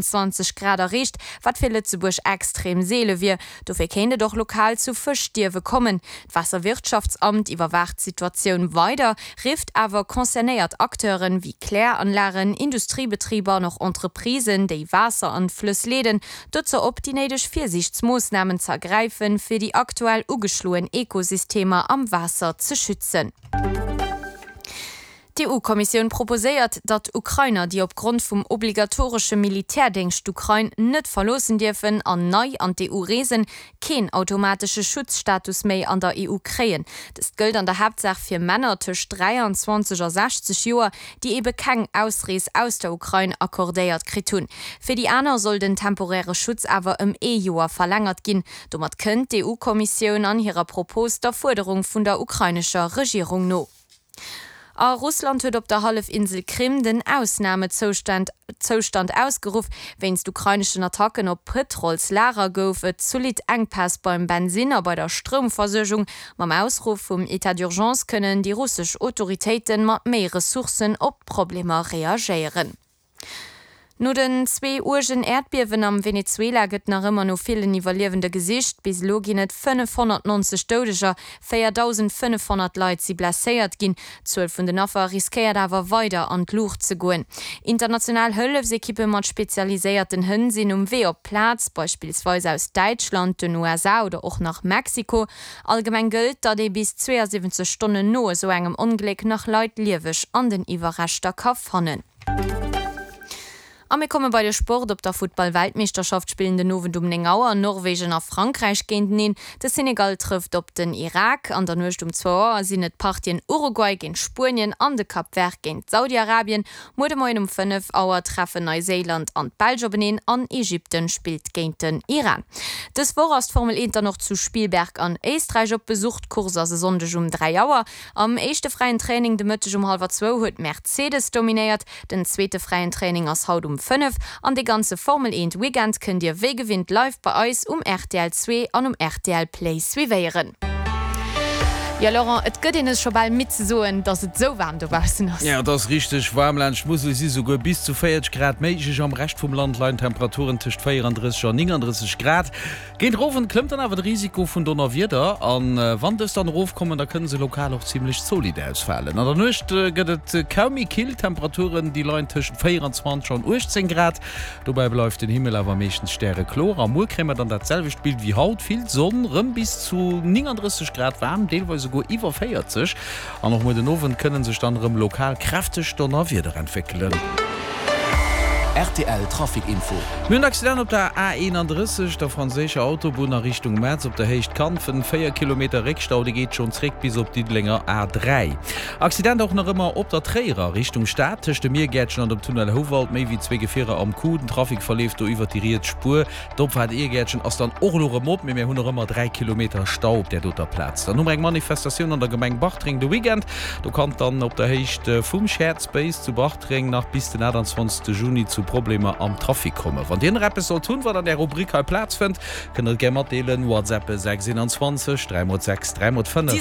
20 Grad erreecht, wat fir Lëtzebuerg extrem seele wier. Dofir kéint et och lokal zu Fëschstierwe kommen. D'Waasserwirtschaftsamt iwwerwaacht d'Situatioun weider, rifft awer concernéiert Acteuren, wéi Kläranlagen, Industriebetriber an och Entreprisen, déi Waasser an d'Flëss leeden, dozou op, déi néideg Virsiichtsmoossnamen ze ergräifen, fir déi aktuell ugeschloen Ekosystemer am Waasser ze schützen. D'EU-Kommissioun proposéiert, datt Ukrainer, déi opgrond vum obligatoresche Militärdéngscht d'Ukrain net verloossen dierfen an nei an d'EU reesen, keen automatesche Schutzstatus méi an der EU kréien. Dëst gëllt an der Haaptsaach fir Männer tëscht 23 a 60 Joer, déi ebe keng Ausrees aus der Ukrain accordéiert kritt hunn. Fir déi aner soll den temporäre Schutz awer ëm ee Joer verlängert ginn. Domat kënnt d'EU-Kommissioun an hirer Propos der Fuerderung vun der ukrainescher Regierung no. A Russland huet op der Hallefinsel Krim den Ausnamezoustand Zoustand ausgeruff. Wéinst ukraineschen Attacken op Pëtrolslager gouf et zolidd Enkpäss beim Bensinn a bei der Stroumversuergung. Mam Ausruff vum Etat d'urgence kënnen déi russesch Autoritéite mat méi Ressourcen op d'Problemer reagéieren. No den zwee uergen Äerdbiewen am Venezuela gëtt nach ëmmer no villen Iwwerliewende gesicht. Bis elo ginn et 590 Doudeger, 4.500 Leit si blesséiert ginn. D'Zuel vun den Affer riskéiert awer weider an d'Luucht ze goen. International Hëllefsekippe mat spezialiséierten Hënn sinn um Wee op d'Plaz, beispillsweis aus Däitschland, den USA oder och nach Mexiko. Allgemeng gëllt, datt ee bis 72 Stonnen no esou engem Ongléck nach Leit lieweg an den Iwwerreschter ka fannen. A mir komme bei de Sport. Op der Futtball-Weltmeeschterschaft spillen den Owend um 9 Auer Norwegen a Frankräich géinteneen. De Senegal trëfft op den Irak. An der Nuecht um zwou Auer sinn et d'Partien Uruguay géint Spuenien an de Cap Vert géint Saudi-Arabien. Muer de Moien um 5 Auer treffen Neiséiland an d'Belsch openeen an Ägypten spillt géint den Iran. Dës Woch ass d'Formel 1 dann och zu Spielberg an Éisträich op Besuch. D'Course ass e Sonndeg um 3 Auer. Am éischte fräien Training de Mëtteg um hallwer zwou huet Mercedes dominéiert. Den zweete fräien Training ass haut um 5 an dee ganze Formel 1 Weekend kënnt dir wéi gewinnt live bei eis um rtl 2 an um rtl Play suivéieren. Jo Laurent, et gëtt een es scho bal midd ze soen, dass et esou waarm dobaussen ass. Jo, et ass richteg waarm. Laanscht d'Musel si souguer bis zu 40 Grad méiglech. Am Rescht vum Land leien d'Temperaturen tëscht 34 an 39 Grad. Géint Owend klëmmt dann awer de Risiko vun Donnerwieder an wann dës dann erofkommen, da kënne se lokal och zimmlech zolidd ausfalen. An der Nuecht gëtt et kaum méi kill, d'Temperaturen déi leien tëschent 24 an 18 Grad. Dobäi bleift den Himmel awer meeschtens stärekloer a muer kréie mer dann dat selwecht Bild wéi haut, vill Sonn, rëm bis zu 39 Grad waarm, deelweis esouguer iwwer 40. An och muer den Owend kënne sech dann erëm lokal kräfteg Donnerwieder entwéckelen. Rtl Trafic Info. Mir hunn en Accident op der A 31, der franséischer Autobunn a Richtung Metz op der Héicht Kanfen. 4 Kilometer Réckstau, dee geet schonn zréck bis op d'Diddelenger A 3. Accident och nach ëmmer op der Tréierer Richtung Stad, tëscht dem Miergäertchen an dem Tunnel Houwald. Méi wéi zwee Gefierer am Coup. Den Trafic verleeft do iwwert déi riets Spuer. D'Opfaart Iergäertchen ass dann och elo rëm op, mee mir hunn och ëmmer 3 Kilometer Stau op där doter Plaz. Dann hu mer eng Manifestatioun an der Gemeng Bartreng de Weekend. Do kann et dann op der Héicht vum Shared Space zu Bartreng nach bis den 28 Juni zu Problemer am Trafic kommen. Wann Dir nach eppes sollt hunn, wat an där Rubrik hei Plaz fënnt, kënnt Der et gär matdeelen. WhatsAppe 6 21 3 x 6 3 x 5.